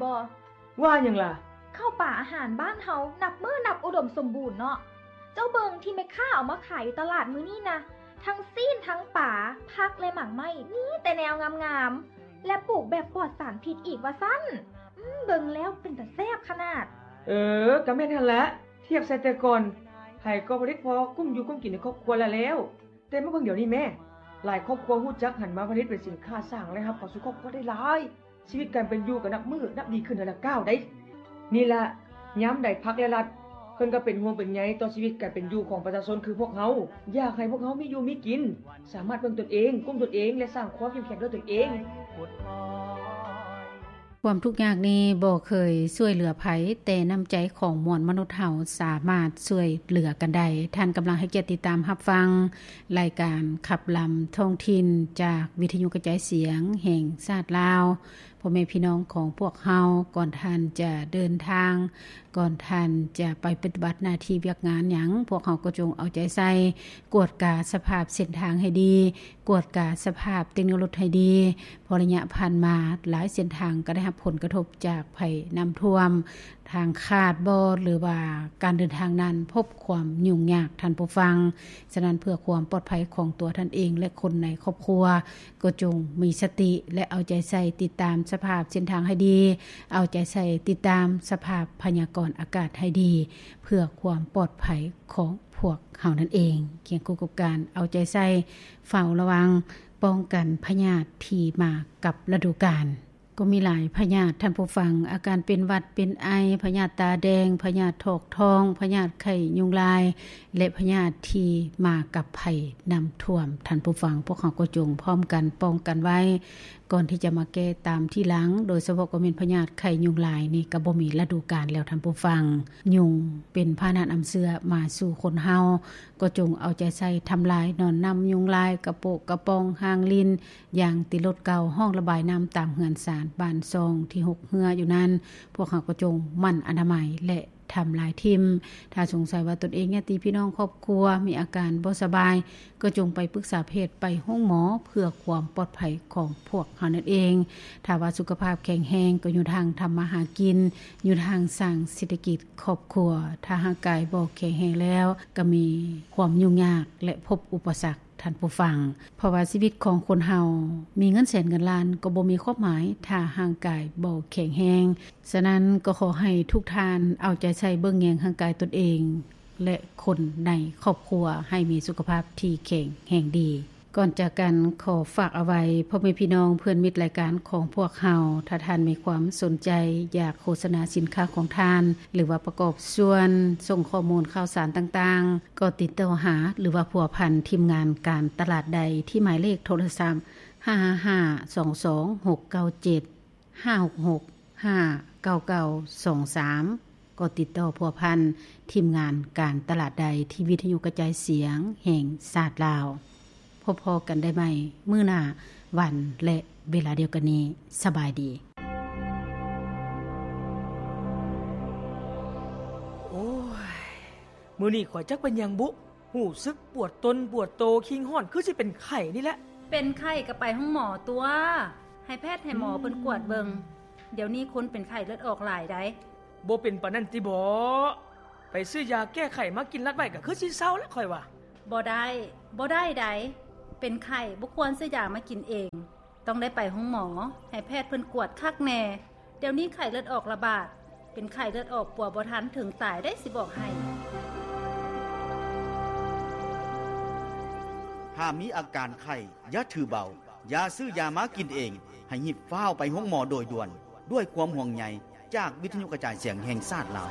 ບໍ່? ວ່າຫຍັງລະ? ເຂົ້າປາອາຫານບ້ານເຮົານັບມື້ນັບອຸດົມສົມບູນເນາະ. ເຈົ້າເບິ່ງທີ່ແມ່ຄ້າເອົາມາຂາຍຢູ່ຕະຫຼາດມື້ນີ້ນະ, ທັງຊີ້ນ, ທັງປາ, ຜັກ ແລະ ໝາກໄມ້ ມີແຕ່ແນວງາມໆ ແລະ ປູກແບບປອດສານພິດອີກວ່າຊັ້ນ. ອືມ, ເບິ່ງແລ້ວເປັນຕາແຊບຂະໜາດ. ເອີ, ກະແມ່ນຫັ້ນລະ. ທຽບໃສ່ແຕ່ກ່ອນ, ໃຜກໍຜະລິດພໍກຸ້ມຢູ່ກຸ້ມກິນໃນຄອບຄົວລະແລ້ວ. ແຕ່ມາເບິ່ງດຽວນີ້ແມ້, ຫຼາຍຄອບຄົວຮູ້ຈັກຫັນມາຜະລິດເປັນສິນຄ້າສ້າງລາຍຮັບເຂົ້າສູ່ຄອບຄົວໄດ້ຫຼາຍ. ຊີວິດການເປັນຢູ່ກໍນັບມື້ນັບດີຂຶ້ນເທື່ອລະກ້າວໃດ໋. ນີ້ລະ, ຍາມໃດພັກ ແລະ ລັດ ເພິ່ນກໍເປັນຫ່ວງເປັນໃຍຕໍ່ຊີວິດການເປັນຢູ່ຂອງປະຊາຊົນຄືພວກເຮົາ, ຢາກໃຫ້ພວກເຮົາມີຢູ່ມີກິນ, ສາມາດເບິ່ງຕົນເອງ, ກຸ້ມຕົນເອງ ແລະ ສ້າງຄວາມເຂັ້ມແຂງດ້ວຍຕົນເອງ. ຄວາມທຸກຍາກນີ້ບໍ່ເຄີຍຊ່ວຍເຫຼືອໃຜ, ແຕ່ນ້ຳໃຈຂອງມວນມະນຸດເຮົາສາມາດຊ່ວຍເຫຼືອກັນໄດ້. ທ່ານກຳລັງໃຫ້ກຽດຕິດຕາມຮັບຟັງລາຍການຂັບລຳທ້ອງຖິ່ນຈາກວິທະຍຸກະຈາຍສຽງແຫ່ງຊາດລາວ. ພໍ່ແມ່ພີ່ນ້ອງຂອງພວກເຮົາ, ກ່ອນທ່ານຈະເດີນທາງ, ກ່ອນທ່ານຈະໄປປະຕິບັດໜ້າທີ່ວຽກງານຫຍັງ, ພວກເຮົາກໍຈົ່ງເອົາໃຈໃສ່ກວດກາສະພາບເສັ້ນທາງໃຫ້ດີ, ກວດກາສະພາບເຕັກໂນໂລດໃຫ້ດີ, ເພາະໄລຍະຜ່ານມາຫຼາຍເສັ້ນທາງກໍໄດ້ຮັບຜົນກະທົບຈາກໄພນ້ຳຖ້ວມ, ທາງຂາດບໍ ຫຼືວ່າການເດີນທາງນັ້ນພົບຄວາມຫຍຸ້ງຍາກ, ທ່ານຜູ້ຟັງ. ສະນັ້ນ ເພື່ອຄວາມປອດໄພຂອງຕົວທ່ານເອງ ແລະ ຄົນໃນຄອບຄົວ, ກໍຈົ່ງມີສະຕິ ແລະ ເອົາໃຈໃສ່ຕິດຕາມສະພາບເສັ້ນທາງໃຫ້ດີ, ເອົາໃຈໃສ່ຕິດຕາມສະພາບພະຍາກອນອາກາດໃຫ້ດີ, ເພື່ອຄວາມປອດໄພຂອງພວກເຮົານັ້ນເອງ. ຄຽງຄູ່ກັບການເອົາໃຈໃສ່ເຝົ້າລະວັງ ປ້ອງກັນພະຍາດທີ່ມາກັບລະດູການ. ກໍມີຫຼາຍພະຍາດ, ທ່ານຜູ້ຟັງ, ອາການເປັນຫວັດເປັນໄອ, ພະຍາດຕາແດງ, ພະຍາດຖອກທ້ອງ, ພະຍາດໄຂ້ຍຸງລາຍ ແລະ ພະຍາດທີ່ມາກັບໄພນ້ຳຖ້ວມ. ທ່ານຜູ້ຟັງ, ພວກເຮົາກໍຈົ່ງພ້ອມກັນປ້ອງກັນໄວ້ ກ່ອນທີ່ຈະມາແກ້ຕາມທີຫຼັງ, ໂດຍສະເພາະກໍແມ່ນພະຍາດໄຂ້ຍຸງລາຍນີ້ ກໍບໍ່ມີລະດູການແລ້ວ, ທ່ານຜູ້ຟັງ. ຍຸງເປັນພາຫະນະນຳເຊື້ອມາສູ່ຄົນເຮົາ, ກໍຈົ່ງເອົາໃຈໃສ່ທຳລາຍໜອນນຳຍຸງລາຍ, ກະໂປະກະປ໋ອງ, ຮາງລິນ, ຢາງຕິດລົດເກົ່າ, ຮ່ອງລະບາຍນ້ຳຕາມເຮືອນຊານ, ບ້ານຊ່ອງທີ່ຮົກເຮື້ອຢູ່ນັ້ນ, ພວກເຮົາກໍຈົ່ງໝັ່ນອະນາໄມ ແລະ ທຳລາຍຖິ້ມ. ຖ້າສົງໄສວ່າຕົນເອງ, ຍາດຕິພີ່ນ້ອງ, ຄອບຄົວມີອາການບໍ່ສະບາຍ, ກໍຈົ່ງໄປປຶກສາແພດ, ໄປໂຮງໝໍ ເພື່ອຄວາມປອດໄພຂອງພວກເຮົານັ້ນເອງ. ຖ້າວ່າສຸຂະພາບແຂງແຮງ, ກໍຢູ່ທາງທຳມາຫາກິນ, ຢູ່ທາງສ້າງເສດຖະກິດຄອບຄົວ. ຖ້າຮ່າງກາຍບໍ່ແຂງແຮງແລ້ວ, ກໍມີຄວາມຫຍຸ້ງຍາກ ແລະ ພົບອຸປະສັກ. ທ່ານຜູ້ຟັງ, ເພາະວ່າຊີວິດຂອງຄົນເຮົາມີເງິນແສນເງິນລ້ານກໍບໍ່ມີຄວາມໝາຍ ຖ້າຮ່າງກາຍບໍ່ແຂງແຮງ. ສະນັ້ນກໍຂໍໃຫ້ທຸກທ່ານເອົາໃຈໃສ່ເບິ່ງແຍງຮ່າງກາຍຕົນເອງ ແລະ ຄົນໃນຄອບຄົວໃຫ້ມີສຸຂະພາບທີ່ແຂງແຮງດີ. ກ່ອນຈາກກັນ, ຂໍຝາກເອົາໄວ້ ພໍ່ແມ່ພີ່ນ້ອງເພື່ອນມິດລາຍການຂອງພວກເຮົາ, ຖ້າທ່ານມີຄວາມສົນໃຈຢາກໂຄສະນາສິນຄ້າຂອງທ່ານ ຫຼືວ່າປະກອບສ່ວນສົ່ງຂໍ້ມູນຂ່າວສານຕ່າງໆ, ກໍຕິດຕໍ່ຫາ ຫຼືວ່າພົວພັນທີມງານການຕະຫຼາດໄດ້ທີ່ໝາຍເລກໂທລະສັບ ຫ້າຫ້າຫ້າ ສອງສອງ ຫົກເກົ້າເຈັດ ຫ້າຫົກຫົກ ຫ້າເກົ້າເກົ້າ ສອງສາມ ກໍຕິດຕໍ່ພົວພັນທີມງານການຕະຫຼາດໄດ້ທີ່ວິທະຍຸກະຈາຍສຽງແຫ່ງຊາດລາວ. ພົບພໍ້ກັນໄດ້ໃໝ່ມື້ໜ້າ ວັນ ແລະ ເວລາດຽວກັນນີ້. ສະບາຍດີ. ໂອ້ຍ ມື້ນີ້ຂ້ອຍຈັກເປັນຫຍັງບຸ ຮູ້ສຶກປວດຕົນປວດໂຕ, ຄີງຮ້ອນ ຄືຊິເປັນໄຂ້ນີ້ແຫຼະ. ເປັນໄຂ້ກໍໄປໂຮງໝໍຕົວະ, ໃຫ້ແພດໃຫ້ໝໍເພິ່ນກວດເບິ່ງ. ດຽວນີ້ຄົນເປັນໄຂ້ເລືອດອອກຫຼາຍໃດ໋. ບໍ່ເປັນປານນັ້ນຕິບໍ? ໄປຊື້ຢາແກ້ໄຂ້ມາກິນລັດໄວ້ ກໍຄືຊິເຊົາລະຂ້ອຍວ່າ. ບໍ່ໄດ້, ບໍ່ໄດ້ໃດ໋. ເປັນໄຂ້ບໍ່ຄວນຊື້ຢາມາກິນເອງ. ຕ້ອງໄດ້ໄປໂຮງໝໍ, ໃຫ້ແພດເພິ່ນກວດຄັກແນ່. ດຽວນີ້ໄຂ້ເລືອດອອກລະບາດ, ເປັນໄຂ້ເລືອດອອກປົວບໍ່ທັນເຖິງຕາຍໄດ໋ ຊິບອກໃຫ້. ຖ້າມີອາການໄຂ້, ຢ່າຖືເບົາ, ຢ່າຊື້ຢາມາກິນເອງ, ໃຫ້ຮີບຟ້າວໄປໂຮງໝໍໂດຍດ່ວນ. ດ້ວຍຄວາມຫ່ວງໃຍຈາກວິທະຍຸກະຈາຍສຽງແຫ່ງຊາດລາວ.